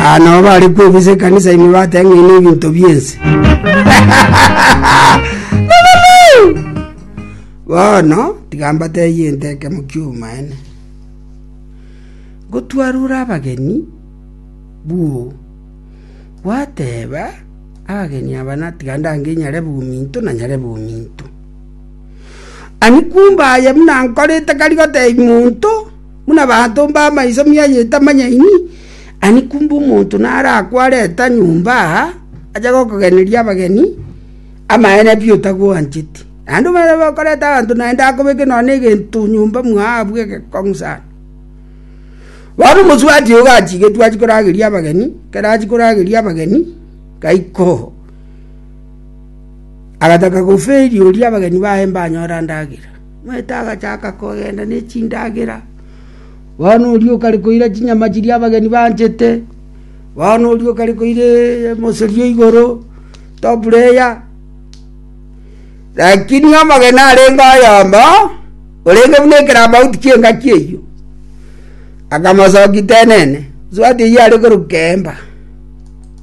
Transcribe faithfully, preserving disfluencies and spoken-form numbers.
Aa nabo bare kwebisa ekanisa ime bateba ng'a na ebinto biense. Bono tiga mbatebie ente ekemo kia obomaene. Ngotwarure abageni bwoo, gwateba abageni aba na tiga ndange nyarebe ominto na nyarebe ominto. Ani kumbe aye buna nkorete kari gotebia monto, buna banto mba amaiso miaye etamanyaini, ani kumbe omonto nare akwareta nyomba aa, ache gokogeneria abageni, amaene pi otagwancheti. Naende omanyete bokoreta abanto naende akobeke nonya na egento nyomba mwao abwo egekong'u sana. Bono omosubati oyo gachigetwe achie korageria abageni, ekero achia korageria abageni, gaika oo, agataka goferi oria abageni baye mbanyora ndagera. Omanyete agachaka kogenda ne chindagera, bono oria okare koira chinyama chiria abageni banchete, bono oria okare koira emosori o igoro, top layer. Lakini omogeni arenge oyomo, orenge buna ekerambauti ki'engaki eyio, akamosokia tenene, swati eyio are korokwa Keemba.